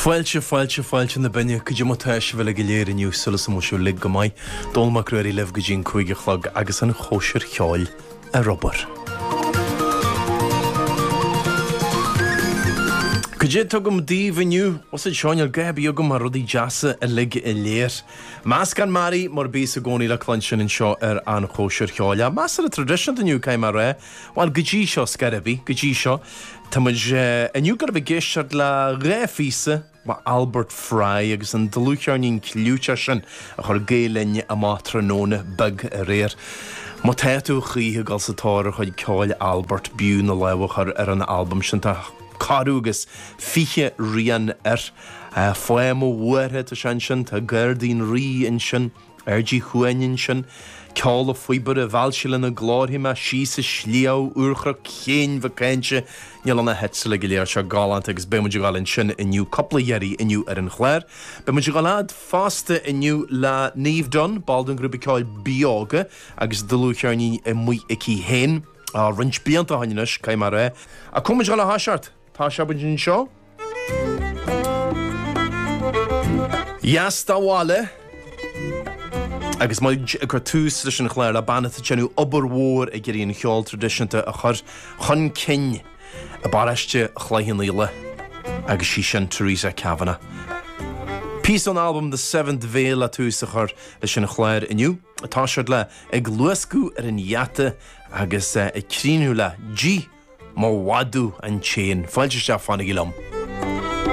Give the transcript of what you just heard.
Fáilte, fáilte, fáilte na binne, cad é mar tá sibh uilig go léir inniu, súil is go bhfuil sibh uilig go maith. Dónall Mac Ruairí libh go dtí an 5 a chlog agus an chóisir cheoil ar obair. Cad é atá agam daoibh inniu? Bhfuil a fhios a'd seo, níl a dhath ar bith agam ach rudaí deasa uilig go léir. Meascán mearaí mar a bíos i gcónaí le cluinstin anseo ar An Chóisir Cheoil. Ach measartha traidisiúnta inniu, caithfidh mé a rá. Bhuel, go dtí seo, scor ar bith, go dtí seo. Tá muid inniu ag gabháil a bheith ag éisteacht le dhá phíosa ó Albert Fry agus an dlúthcheirnín clúiteach sin a chuir Gael Linn amach tráthnóna beag aréir. Má tá tú a choíche ag dul sa tóir ar chuid ceoil Albert, b'fhiú na lámha a chur ar an albam sin. Tá corradh agus 20 rian air. Fáth mo bhuartha, tá sé ansin, tá Gairdín Rí ansin. Aird Uí Chuain ansin, Ceol a' Phíobaire, Mheall sí lena glór mé, Síos a' Sliabh, Úrchnoc Chéin Mhic Cáinte, níl ann ach uilig go léir seo galánta agus beidh muid ag dul ansin inniu, cúpla iarraidh inniu ar an chlár. Beidh muid ag dul fhad fosta inniu le Niamh Dunne, ball den ghrúpa ceoil Beoga agus dlúthcheirnín amuigh aici féin roinnt blianta ó shin anois, caithfidh mé a rá. Ach cá bhfuil muid ag dul a thoiseacht? Tosóidh muid anseo. Dheas dá bhaile agus muid ag cur tús leis an chlár le bean atá ag déanamh obair mhór ag iarraidh an cheol traidisiúnta a chur chun cinn i bparóiste Chloich Cheann Fhaola agus sí sin Theresa Kavanagh. Píosa ón albam The Seventh Veil le tús a chur leis an chlár inniu. Ag toiseacht le Ag Luascadh ar an Gheata agus ag críochnú le D'ith Mo Mhadadh an tSéan. Fáilte isteach, fanaigí liom.